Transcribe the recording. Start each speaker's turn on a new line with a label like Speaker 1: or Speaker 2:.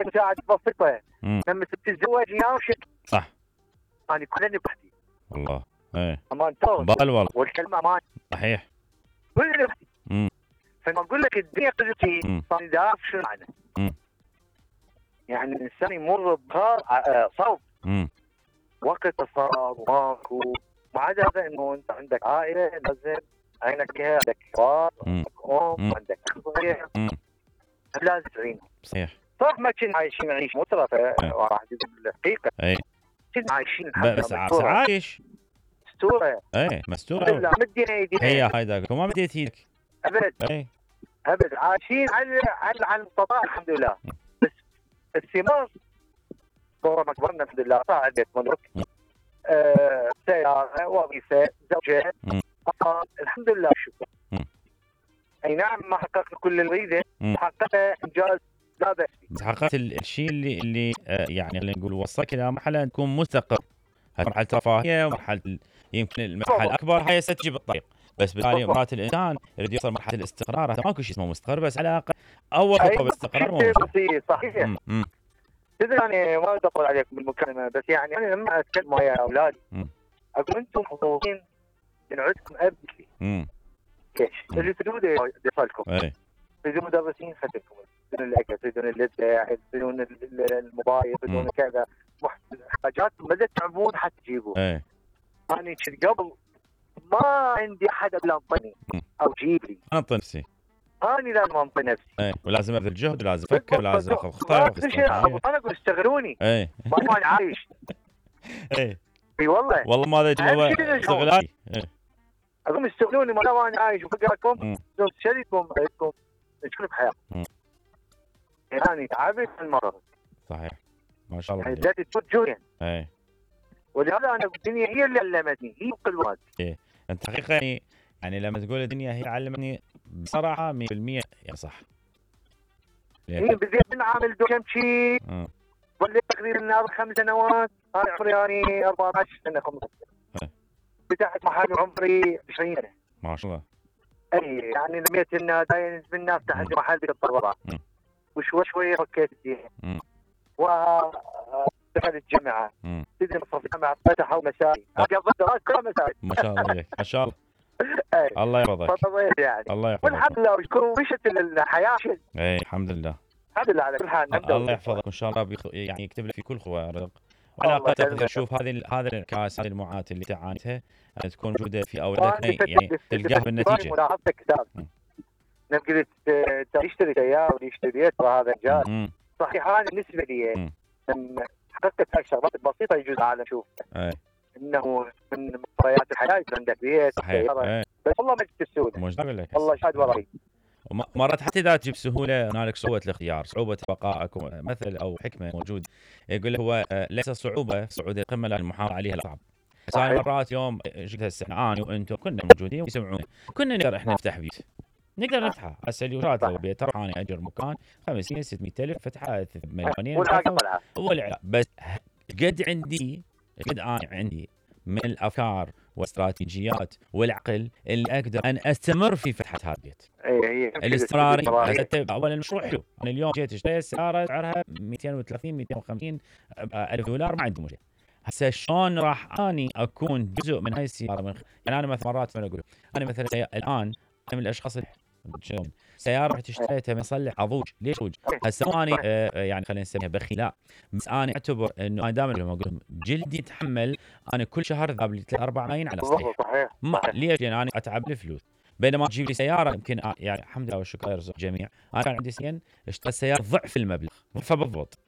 Speaker 1: مساعدة بسيطة.
Speaker 2: مم.
Speaker 1: لما تتزوج يناوشك
Speaker 2: صح
Speaker 1: أنا كلني بختي
Speaker 2: والله. ايه
Speaker 1: أمان توصل
Speaker 2: بال والله
Speaker 1: والكلمة أمان
Speaker 2: صحيح.
Speaker 1: كلني بختي.
Speaker 2: مم.
Speaker 1: فما أقول لك الدنيا قدرتي
Speaker 2: مم.
Speaker 1: صار دارك شو معنى؟
Speaker 2: مم.
Speaker 1: يعني الإنسان يمر بخار صوب
Speaker 2: مم.
Speaker 1: وقت صار وماكو. ما عدا هذا إنه أنت عندك عائلة لازم عينك بها، عندك كبار،
Speaker 2: مم.
Speaker 1: عندك أم،
Speaker 2: مم.
Speaker 1: عندك أخويا،
Speaker 2: مم.
Speaker 1: لازم تعينهم.
Speaker 2: صحيح.
Speaker 1: صح ما كنا عايشين نعيش مترفة وراح أقول الحقيقة.
Speaker 2: اي
Speaker 1: كنا عايشين الحمد
Speaker 2: بس
Speaker 1: لله
Speaker 2: بس عايش.
Speaker 1: مستورة.
Speaker 2: ايه
Speaker 1: الحمد
Speaker 2: مستورة.
Speaker 1: لله مدينا ايدينا
Speaker 2: هي هاي ذاك وما مديت ايدك.
Speaker 1: ابد
Speaker 2: ايه
Speaker 1: ابد عايشين على المستطاع الحمد لله. بس الثمار صورة ما كبرنا الحمد لله صار بيت ملك، سيارة، وظيفة، زوجة،
Speaker 2: مم.
Speaker 1: أطفال، الحمد لله شكرا.
Speaker 2: مم.
Speaker 1: اي نعم ما حققنا كل اللي نريده،
Speaker 2: مم.
Speaker 1: حققنا انجاز لا بأس به.
Speaker 2: بس حققت الشيء اللي يعني اللي نقول وصلك الى مرحله تكون مستقر. هاي مرحله رفاهيه ومرحله يمكن المرحله الاكبر هاي ستجي بالطريق. بس بالتالي مرات الانسان يريد يوصل مرحله الاستقرار. هذا ماكو شيء اسمه مستقر، بس على الاقل اول خطوه بالاستقرار مو
Speaker 1: بسيط صحيح. تدري يعني ما بدي اطول عليكم بالمكالمه، بس يعني انا لما اتكلم ويا اولادي اقول انتم محظوظين ان عندكم اب مثلي. ليش؟ اللي تريدون يوصلكم. تريدون مدرسين خدمكم، تريدون الاكل، تريدون الابداع، تريدون الموبايل، تريدون كذا حاجات ما تتعبون حتى تجيبوها. انا كنت قبل ما عندي احد الا انطني او جيب لي.
Speaker 2: انطي نفسي.
Speaker 1: انا لازم انطي نفسي.
Speaker 2: ولازم ابذل جهد ولازم افكر ولازم اخذ خطوه.
Speaker 1: انا اقول اشتغلوني. ما انا عايش. اي والله
Speaker 2: ما ادري هو استغلالي.
Speaker 1: اقول اشتغلوني ما انا عايش وفقركم شريككم عندكم تشكون بحياتكم. يعني تعبت المرض.
Speaker 2: صحيح ما شاء الله.
Speaker 1: يعني بدأت تفوت ولهذا انا الدنيا هي اللي علمتني، هي القدوات.
Speaker 2: انت حقيقه يعني لما تقول الدنيا هي علمتني بصراحه 100% يا صح.
Speaker 1: بديت نعمل كم شيء وليت تقريبا 5 سنوات. انا عمري يعني 14 سنه 15. فتحت محل عمري 20 سنه
Speaker 2: ما شاء الله.
Speaker 1: اي يعني رميت النادين من افتح عندي محل بالطلبات وشوي شوي فكيت الدين ودخلت الجامعه. تدري مصرف الجامعه فتحوا مسائي قضيت دراسه كلها مسائي.
Speaker 2: ما شاء الله عليك ما شاء الله. الله يرضى
Speaker 1: يعني
Speaker 2: الله يحفظك
Speaker 1: والحمد لله وشكر مشت الحياه.
Speaker 2: الحمد لله
Speaker 1: الحمد لله على كل حال.
Speaker 2: الله يحفظك وان شاء الله يعني يكتب لك في كل خوة رزق. وعلى الاقل تقدر تشوف هذا الانعكاس، هذه المعاناه اللي تعانيتها ان تكون موجوده في اولادك يعني تلقاها بالنتيجه.
Speaker 1: ملاحظتك كتاب نقدر تشتري سياره ويشتري بيت وهذا انجاز. صحيح انا بالنسبه لي لما حققت هاي الشغلات البسيطه يجوز العالم يشوفها انه من مقتضيات الحياه يكون عندك بيت سياره. بس والله ما جبت السهوله. والله شاد وراي.
Speaker 2: مرات حتى اذا تجيب سهوله هنالك صعوبه الاختيار، صعوبه بقائك. مثل او حكمه موجود يقول لك هو ليس صعوبه صعود القمه لكن المحافظه عليها صعب. ثاني مرات يوم جيت هسه انا وانتم كنا موجودين ويسمعونا كنا نقدر احنا نفتح بيت، نقدر نفتحها هسه اليومات. لو بيت انا اجر مكان 500 600 الف فتحها مليونين والعلاء. بس قد انا عندي من الافكار واستراتيجيات والعقل اللي اقدر ان استمر في فتحه هذا البيت. الاستمراريه. اول المشروع حلو. انا اليوم جيت اشتريت سياره سعرها 230 250 الف دولار ما عندي مشكله. هسه شلون راح اني اكون جزء من هاي السياره؟ يعني انا مثلا مرات اقول انا مثلا الان انا من الاشخاص سياره رحت اشتريتها من صلح اضوج. ليش اضوج؟ هسه انا يعني خلينا نسميها بخيل لا، بس انا اعتبر انه انا دائما لما اقول جلدي يتحمل انا كل شهر ذاب لي 3 4 ملايين على صحيح. ليش؟ لان انا اتعب الفلوس. بينما تجيب لي سياره يمكن يعني الحمد لله والشكر يرزق الجميع. انا كان عندي سين اشتريت سياره ضعف المبلغ فبالضبط